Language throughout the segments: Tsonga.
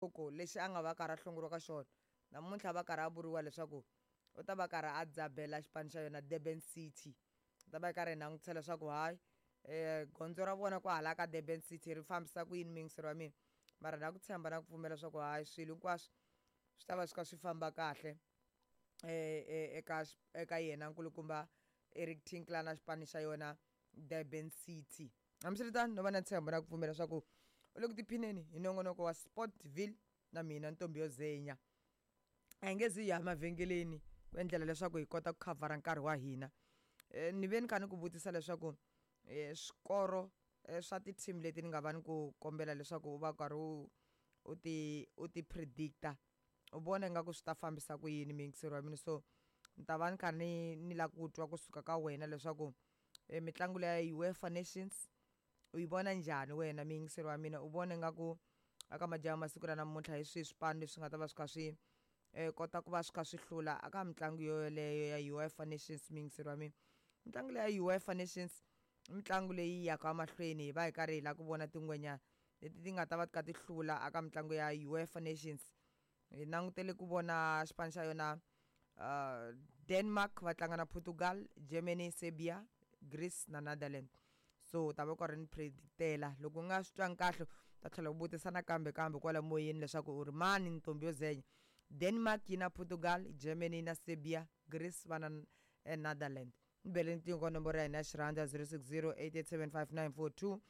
Loko lexi a nga va karhi a hlongoriwa ka xona namuntlha va karhi a vuriwa leswaku u ta va karhi a dzabela xipano xa yona Durban City. U ta va karhi hi langutisa leswaku hayi gondzo ra vona kwahala ka Durban City ri fambisa ku yini muyingiseri wa mina, mara na ku tshemba na ku pfumela leswaku hayi swilo hinkwaswo swi ta va swi kha swi famba kahle eka yena nkulukumba Eric Tinkler na xipano xa yona Durban City. Hambiswiritano no va na ntshembo na ku pfumela leswaku u le ku tiphineni hi nongonoko wa Sportville na mina Ntombi yo Zenya. A hi nge zi hi ya mavhengeleni ku endlela leswaku hi kota ku khavhara nkarhi wa hina. Ni ve ni kha ni ku vutisa leswaku swikoro swa ti-team leti ni nga va ni ku kombela leswaku u va karhi u ti predictor, u vona ingaku swi ta fambisa ku yini, muyingiseri wa mina. So ni ta va ni kha ni lava ku twa kusuka ka wena leswaku mitlangu leya UEFA Nations u yi vona njhani wena, muyingiseri wa mina. U vona ingaku aka madyambu masiku ra namuntlha hi swihi swipano leswi nga ta va swi kha swi kota ku va swi kha swi hlula aka mitlangu yoyoleyo ya UEFA Nations, muyingiseri wa mina? Mitlangu leya UEFA Nations i mitlangu leyi yaka mahlweni, hi va hi karhi hi lava ku vona tingwenya leti ti nga ta va ti kha ti hlula aka mitlangu ya UEFA Nations. Hi langutele ku vona xipano xa yona Denmark va tlanga na Portugal, Germany, Serbia, Greece na Netherlands. So u ta va u karhi ni predictela. Loko u nga swi twangi kahle, u ta tlhela u vutisa nakambe kambe kwala moyeni leswaku u ri mani Ntombi yo Zenya. Denmark yi na Portugal, Germany na Serbia, Greece va na Netherland. Ni bele riqingho ka nomboro ya hina ya xirhandza 060 8875942,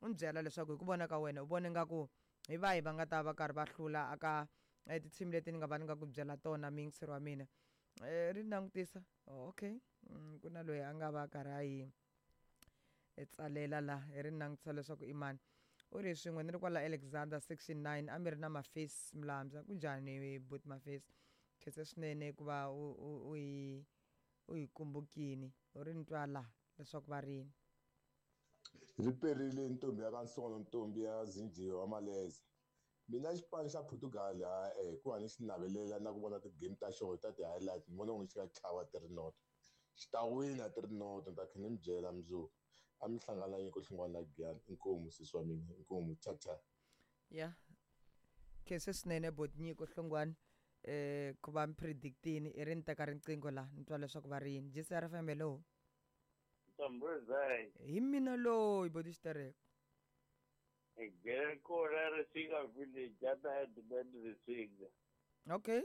u ni byela leswaku hi ku vona ka wena u vona ingaku hi vahi va nga ta va karhi va hlula aka ti-team leti ni nga va ni nga ku byela tona, muyingiseri wa mina. Ri langutisa. Oh, okay, ku na loyi a nga va karhi a yi tsalela la, hi ri langutisa leswaku i mani. U ri swin'we ni ri kwala Alexander section 9, a mi ri na Mafesi Mlambya. Kunjhani but Mafesi? Khense swinene ku va u hi kumbukini. U ri ni twa la leswaku va rini. Ri perile ntombi ya ka Nsono, ntombi ya Zinjiwa wa Maleze. Mina xipano xa Portugal ha hikuva ni xi navelela na ku vona ti-game ta xona ta ti-highlight, ni vona onge xi nga chava 3-0, xi ta wina 3-0. Ni ta kha ni mi byela mundzuku. A mi hlangana Nyiko Hlongwane na Giyani. Inkomu sesi wa mina, inkomu, cha cha. Ya, khense swinene bot Nyiko Hlongwane ku va mi predictini. I ri ni teka riqingho la, ni twa leswaku va ri yini. GCR FM, hello. Ntombozai. Hi mina loyi, boti Xitereko. Gere Risinga village ata headman Risinga. Okay.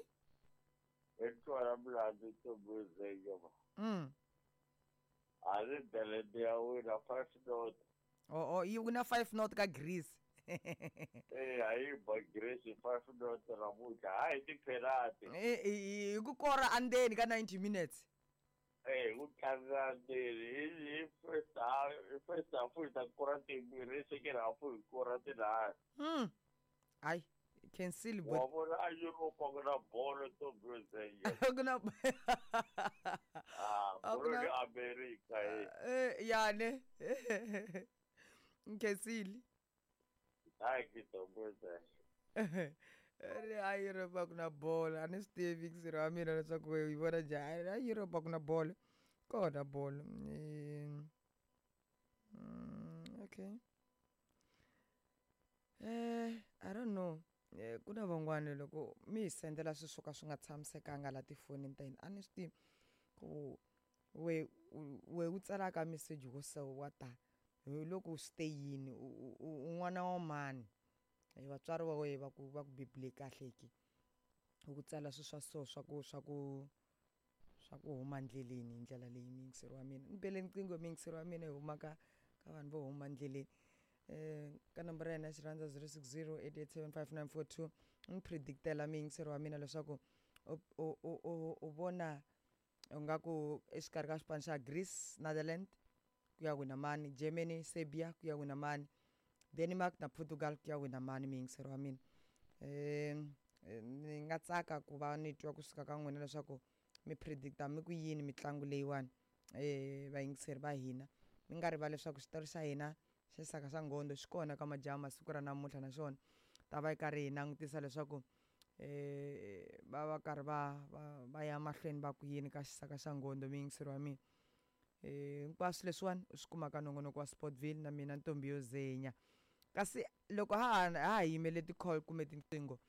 Etwala mlandu Ntombozai ba. A ri Netherland ya wina 5-0. Oh, yi wina 5-0 ka Greece? Eh, a yi ba Greece 5-0 namuntlha. Hayi ti-penalty. Hi ku kora andzeni ka 90 minutes? Eh, ku tlanga ndzeni hi first half, first half hi ta kora timbirhi, second half hi kora tinharhu. Hayi, khensile. Wa bot vona a Europe ku na bolo, Ntombozai. Ku na Ah, A ku bolo na le America eh. Ya ne, nkhensile. Hayi Ntombozai. Ri a Europe a ku na bolo. A ni swi tivi xirho wa mina leswaku yi vona njhani. A Europe a ku na bolo, kona bolo. Okay, I don't know. Ku na van'wani loko mi hi sendela swilo swo ka swi nga tshamisekanga la tifonini ta hina, a ni swi tivi ku we u tsalaka meseji wo so wa ta hi loko swi te yini. U n'wana wa mani? Vatswari va wehe va ku bebule kahle ki u ku tsala swilo swa so swa ku huma ndleleni hi ndlela leyi? Muyingiseri wa mina, ni bele riqingho, muyingiseri wa mina, hi huma ka vanhu vo huma ndleleni ka nomboro ya hina ya xirhandza 060 887 5942. Ni predictela, muyingiseri wa mina, leswaku u vona ingaku exikarhi ka xipano xa Greece, Netherland ku ya wina mani, Germany, Serbia ku ya wina mani, Denmark na Portugal ku ya wina mani, muyingiseri wa mina. Ni nga tsaka ku va ni twa kusuka ka n'wina leswaku mi predicta mi ku yini mitlangu leyiwani. Vayingiseri va hina, mi nga rivali leswaku xitori xa hina xa Xisaka xa Nghondo xi kona ka madyambu masiku ra namuntlha, naswona ta va yi karhi hi langutisa leswaku va va karhi va ya mahlweni va ku yini ka Xisaka xa Nghondo, muyingiseri wa mina. Hinkwaswo leswiwani u swi kuma ka nongonoko wa Sportville na mina Ntombi yo Zenya. Kasi loko ha ha yimele ti-call kumbe tinqingho.